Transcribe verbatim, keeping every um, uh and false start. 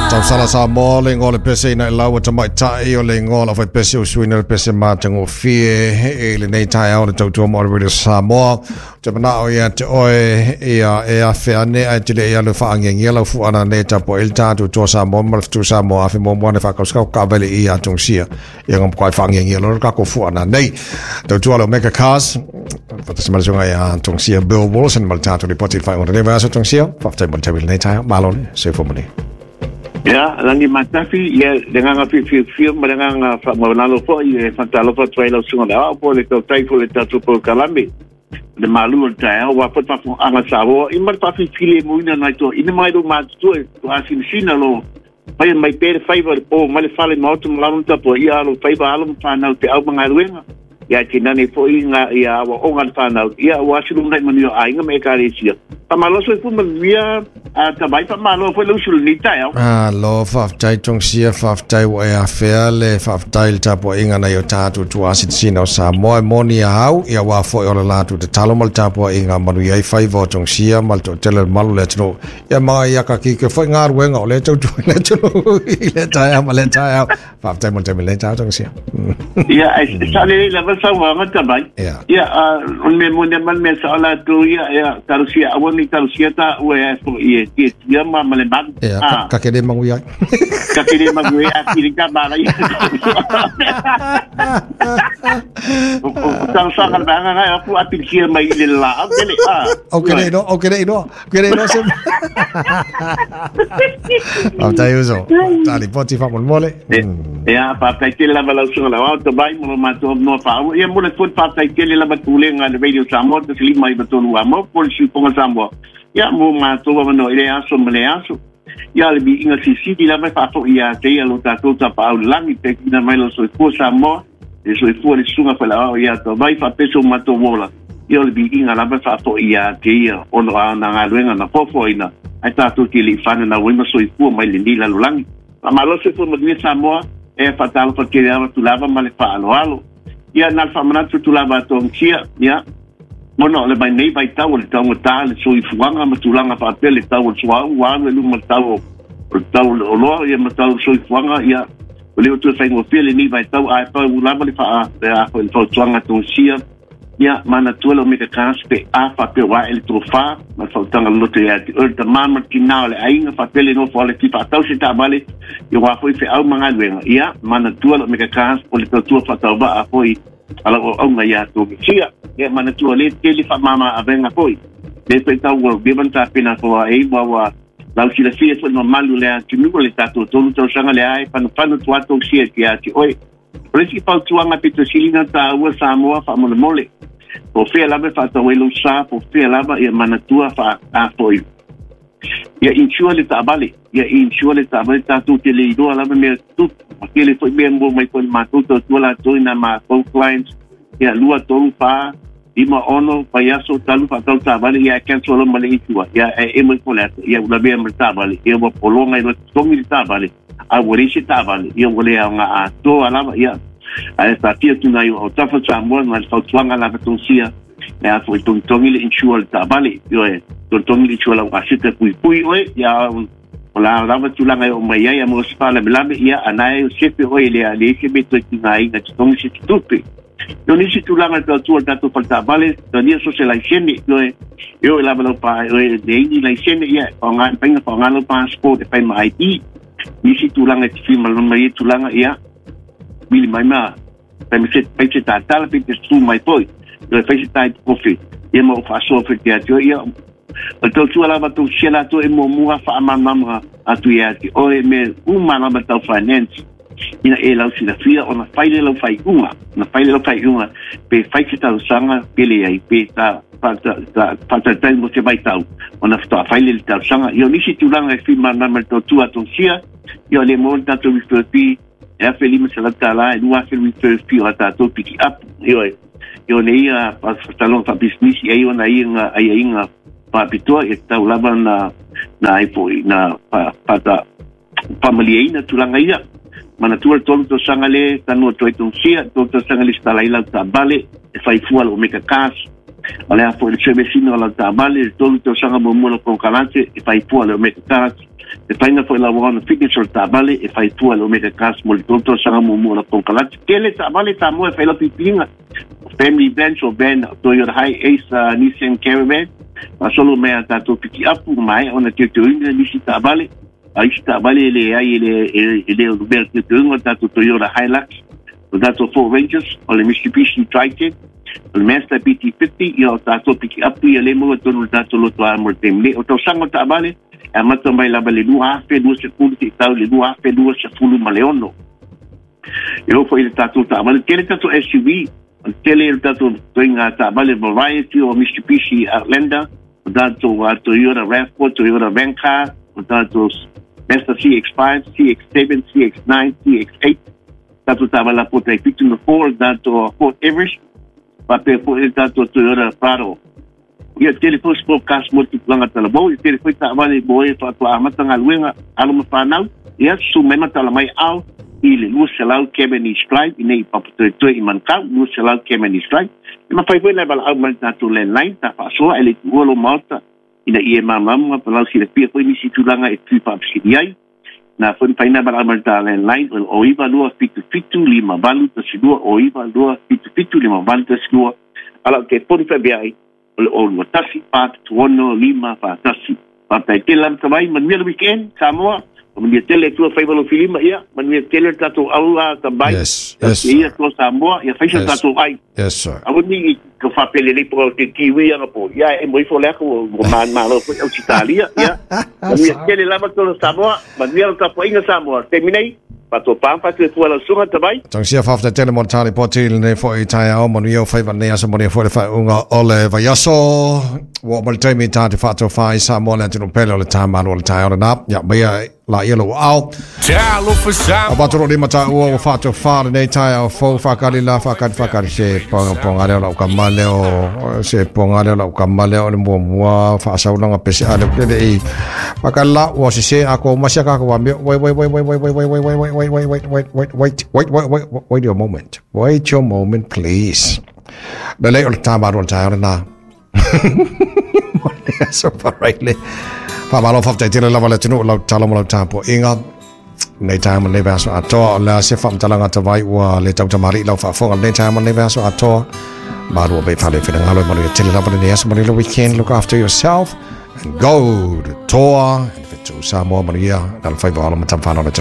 Tausala Samoa le ingoa o le pese ina i lau tamaitai o le ingoa o le aufaipese o suiina le pese matagofie i lenei taeao le tautua mo le Radio Samoa. Ou te manao ia te oe ia e afe ane ae te le ia le whaangiangia lau fuana nei tapo e le tātou toa Samoa ma le fitu Samoa afe mua ne whakauskau ka vele i a tongsia. Ia ngam kwa whaangiangia loro kako fuana nei. Tautua le Omega Cars. Whatasi malasunga ia tongsia Bill Wilson ma le tātou ripoti whai ona lewa aso tongsia. Whaftai mo le tawili nei taeao. Malo le, soifua moni. Ia, langi matafi, ia, le nganga whiwhiwhiw, ma le nganga whaamaunalo foi, e whantalofa tuai lau sunga le ao, po le tautai po le tatu po kalame, le malu o le taeao, wa po te anga Samoa, i ma le whawhiwhile muina nai toa, ina mai lo mātutua, to asinisina lo, mai mai pere whaiva le po, mai le whale maotu malano tapo, ia alo whaiva alo mwhanau te au mangaruenga, ia te nane foi ngā ia awa o ngā whanau, ia o asilu nai manu o ainga me e karesia. Pamaloso e puma mia a tabai pamalo foi lau sulu ni taeao. Alo, whaftai tongsia, whaftai wa e awhea le, whaftai le tapo inga na i o tātou tua asitisina o Samoa e moni a hau, ia wā foi o le lātou te talo ma le tapo inga manu iai whaiva o tongsia, ma le tōtele le malu le atunu. Ia maa ia ka kike foi ngā ruenga o le tautua le atunu i le taeao ma le taeao. Whaftai mo le taimi le taeao tongsia. Ia, sa le lava sauaga tabai. Ia, o le mea moni ma le mea sao latou ia, ia, talusia aua ni talusia taua e foi e tia ma ma le malu. Ia, ka kere mangui ai. Ka kere mangui ai, a kiri ka mala ia. O talusaga le vaega ngai aku a pilisia mai i le laau tele. O kere inoa, o kere inoa, kere inoa se. Whaftai uso, tali poti whamolemole. Ia, whaftai tele lava lau suga lau au tabai mo lo matou noa whaau. Ia mo le foi whaftai tele lava tulega le Radio Samoa, tasi lima i tolu amo, po le siuponga Samoa. Ia mo matou avanoa i le aso ma le aso. Ia le viiga sisili lava e faafoi ia te ia lo tatou tapaau lagi pe kina mai lo soifua Samoa, le soifua le susuga faleao ia tavai faapeso matou ola. Ia o le viiga lava e faafoi ia te ia ona o ana galuega na foafoaina ae tatou te le'i fananau ai ma soifua mai lenei lalolagi. Faamalo soifua manuia Samoa, e faatalofa tele ava tulava ma le faaloalo. Ia na le faamanatu tulava atogia, ia Mona o le mai nei vaitau o le taugata le soifuaga ma tulaga faapea le tau o le suauu ua alu e luma le tau o le tau o le oloa ia ma tau o le soifuaga ia o le o toe faigofie lenei vaitau ae pau lava le faa le a foi le fautuaga togasia ia manatua le Omega Cars pe a faapea ua ae le tofā ma le fautaga loloto ia te oe le tamā ma le tinā o le aiga faapea le nofo ale ti faatau se taavale ia ua foi feau ma galuega ia manatua le Omega Cars o le tautua faatauvaa foi ala o aunga ia togasia. Ia manatua le tele faamama avega foi le faitau ua leva na tapena foa ai ua ua lau silafia foi mamalu le atunuu le tatou tolu tausaga le ae panupanu tuatou sia te ati oe. O le isi fautuaga pitosilina taua Samoa faamolemole. Po fea lava e faatau ai lou sa, po fea lava ia manatua faaafoi. Ia insure le taavale, ia insure le taavale tatou te le iloa lava mea tutupu. Ma tele foi mea mo mai foi le matou tautua latou i nā matou clients. Ia lua, tolu, fa, lima, ono, vaiaso, talu, faatau taavale, ia e cancel loa ma le insure. Ia e emo ifo le ata, ia ua lavea ma le taavale, ia ua pologa i loa totogi le taavale, a ua leai se taavale, ia ua le aoga atoa lava, ia. Ae taatia tuna i o tafa Samoa ma le fautuaga lava togasia, e a foi togitogi le insure le taavale, ioe, togitogi le insure lau aseta puipui oe, ia o la lava tulaga e oo mai ai a mo se faalavelave, ia anae o sefe oe le a leai se mea toe tigaina totogi se tutupe. Io nisi tulaga le tautua le tatou faletaavale, talia so se laisene, ioe, e oo i lava lau pa, oe leai ni laisene, ia, faaaoga faiga faaaoga lau passport e fai ma I D. Nisi tulaga e te fimalama mai ai tulaga, ia, vili mai ma, fai ma se, fai se tatala, pe te tu mai foi, ioe, fai se type coffee, ia ma o faasoa foi te ati oe, ia, o le tautua lava tausia latou e muamua faamalamalama atu ia te oe mea uma lava tau finance. Ina e lau silafia ona fai le lau faiuga, ona fai le lau faiuga, pe fai se talosaga pe leai, pe ta faatalitali mo se vaitau, ona faatoa fai le le talosaga. Ia o nisi tulaga e fimalama le tautua togasia, ia o le mo le tatou refer fee, e afe lima selau tālā, e lua afe refer fee o a tatou piki up, ioe. Ia o le ia fataloga faapisinisi ai ona ia aiaiga faapitoa, ia tatau lava na na ai foi na faata faamaliaina tulaga ia. Manatua le tolu tausaga le tanoa toe togasia, tolu tausaga le setala ai lau taavale, e fai fua le Omega Cars. O le a foi le service ina o lau taavale, le tolu tausaga muamua lau konokalate, e fai fua le Omega Cars. E whainga fo i la wana fitness o le taavale e whai tua le Omega Cars mo le tolu tausaga muamua o la konukarate. Tele taavale Samoa e whai lau pipiga. Family vans o van Toyota Hiace, uh, Nissan Caravan. Faasolo mai a tatou pikiapu ma ona teuteuina nisi taavale. A isi taavale e le ai e le e le o lumea teuteuina o tatou Toyota Hilux, o tatou Ford Rangers, o le Mitsubishi Triton, o le Mazda B T fifty, ia o tatou pikiapu ia le maua tonu le tatou lotoa mo le taimi nei. O tausaga o taavale e amata mai lava le lua afe lua sefulu seia tau le lua afe lua sefulu ma le ono. E oo foi le tatou taavale, tele tatou S U V, o tele le tatou toiga taavale variety o Mitsubishi Outlander, o tatou uh, Toyota RAV four, Toyota Vancar, o tatou Mazda C X five, C X seven, C X nine, C X eight, tatou taavale pota e fitu na four, tatou Ford Everest, faapea foi le tatou Toyota Prado. Ia tele foi sport cars mo tupulaga talavou, ia tele foi taavale mo e faatoa amata galuega alo ma fanau, ia susu mai ma tala mai ao i le lua selau Cavendish Drive, i nei Papatoetoe i Manukau, lua selau Cavendish Drive. E mafai foi na valaau mai le tatou landline, ta faasoa e le tuua lo maota, ina ia malamalama ma lau silafia foi nisi tulaga e tui faafesili ai. Na foi mafai na valaau mai le ta landline, o le o iva lua fitu fitu lima valu tasi lua, o iva lua fitu fitu lima valu tasi lua. Ala o te poni faapea ai, o le o lua tasi, pa fitu ono, lima, fa tasi. Faafetai tele lava tavai, manuia le weekend, Samoa. Manuia tele tua faiva lo filima, ia. Manuia tele tatou aua tabai. Yes, yes. Ia tua Samoa, ia faisa tatou ai. Yes, sir. Aua ni ka faapelelei po o te kiwi anga po. Ia e mo ifo le ako o man malo foi au Italia, ia. Manuia tele lava tolo Samoa, manuia le tapuaiga Samoa. Taimi nei, faatoa pa te tua lau suga tabai. Tausia faafetai tele mo le tali poti lenei foi taeao, manuia o faiva lenei aso, manuia foi le faaiuga o le vaiaso. Ua oo mai le taimi ta te faatofā i Samoa le atunuu pele o le tamalo o le taeao lena. Ia maia la ia lou aao. Talofa Samoa. O patoro lima taua ua faatofā lenei taeao fou, faakali la, faakali faakali se ponga leo lau kama leo, se ponga leo lau kama leo le muamua faasaulaga pese a le pele i. Faakali la, ua sese a ko masia ka ko wambio. Wait, wait, wait, wait, wait, wait, wait, wait, wait, wait, wait, wait, wait, wait, wait, wait, wait, wait, wait your moment. Wait your moment, please. Le lei o le tamalo o le taeao lena. Mo le aso paraile. Faamalo faafetai tele lava le atunuu lau tatalo ma lau tapuaiga. Nei taeao ma lenei vaiaso atoa, o le a se faamatalaga tavai ua le tautamali'i lau faafofoga lenei taeao ma lenei vaiaso atoa. Malua pea i fale finagalo e manuia tele lava lenei aso, manuia le weekend. Look after yourself and go to Toa and Fetu Samoa, manuia na le faiva o alo ma tamawhanau le atunuu.